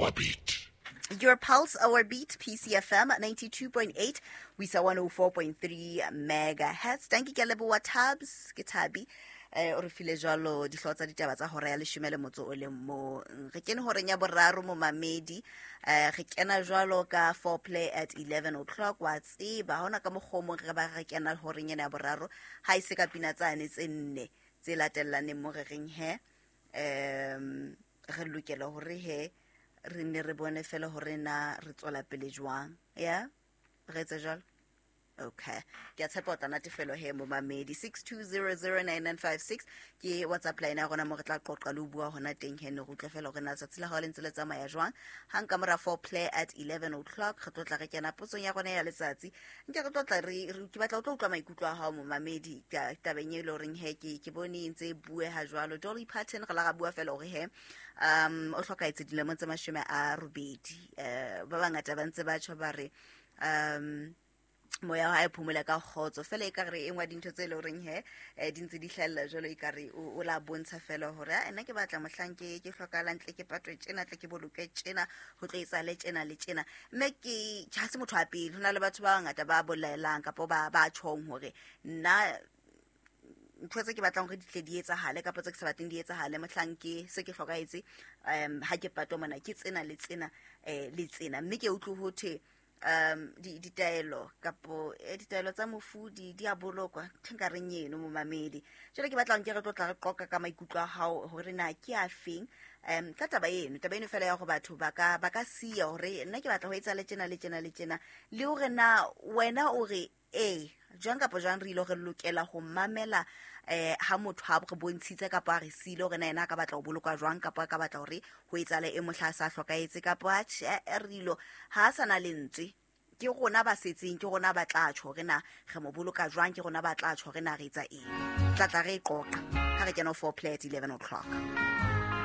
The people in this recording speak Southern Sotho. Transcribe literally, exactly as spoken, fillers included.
our beat. Your Pulse, Our Beat, P C F M ninety-two point eight, we saw one oh four point three megahertz. Thank you, Keleboa Tabs, ke Thabi. Eh, o re file jwalo dihlooho tsa ditaba tsa hora ya leshome le motso o le mong. Re kene horeng ya boraro momamedi. Eh, re kena jwalo ka foreplay at eleven o'clock. Wa tseba, ha hona ka mokgwa o mong re ba re kena horeng ena ya boraro. Ha e se ka pina tsane tse nne tse latellaneng mo re reng he. Em, re lokela hore he re ne re bone fela hore na re tswela pele jwang. Ya? Re etse jwalo? Okay. Ke a tshepa o tla natefelo he momamedi. six two zero zero nine nine five six ke WhatsApp line ya rona mo re tla qoqa le ho bua hona teng he, ne re utlwe fela hore na letsatsi la hao le ntse le tsamaya jwang. Hang ka mora foreplay at eleven o'clock re tlo tla re kena potsong ya rona ya letsatsi. Nke re tlo tla re, re, ke batla o tlo utlwa maikutlo a hao momamedi ka tabeng e le horeng he ke, ke bone e ntse e bueha jwalo. Dolly Parton re la ra bua fela hore he, um, o hlokahetse dilemong tse mashome a robedi. Eh, ba bangata ba ntse ba tjho ba re, um, moya wa hae phomole ka kgotso. Fela ekare e nngwe ya dintho tse leng horeng he, eh, di ntse di hlahella jwalo, ekare o, o la bontsha fela hore, ah, nna ke batla mohlang ke, ke hlokahalang tle ke patwe tjena, tle ke bolokwe tjena, ho tlo etsahale tjena le tjena. Mme ke, ha se motho wa pele, ho na le batho ba bangata ba bolelang kapa ba, ba tjhong hore nna ntho tse ke batlang hore di tle di etsahale kapa tse ke sa batleng di etsahale mohlang ke se ke hlokahetse, um, ha ke patwa mona ke tsena le tsena, eh, le tsena. Mme ke utlwe ho thwe, um, di-, ditaelo kapo, eh, ditaelo tsa mofu di, di a bolokwa. Ntho nka reng eno momamedi. Jwale ke batla nke re tlo tla re qoqa ka maikutlo a hao hore na ke a feng, um, ka taba eno, taba eno fela ya hore batho ba ka, ba ka siya hore nna ke batla ho etsa le tjena le tjena le tjena, le hore na wena o re ee jwang kapa jwang re ile re lokela ho mamela, eh, ha motho a re bontshitse kapa a re siile hore na yena a ka batla ho bolokwa jwang kapa a ka batla hore ho etsahale e mohla a sa hlokahetse kapa atjhe, eh, re ilo ha a sa na lentswe. Ke rona ba setseng, ke rona ba tla tjho hore na re mo boloka jwang, ke rona ba tla tjho hore na re etsa eng. Tla tla re e qoqa ha re kena ho foreplay at eleven o'clock.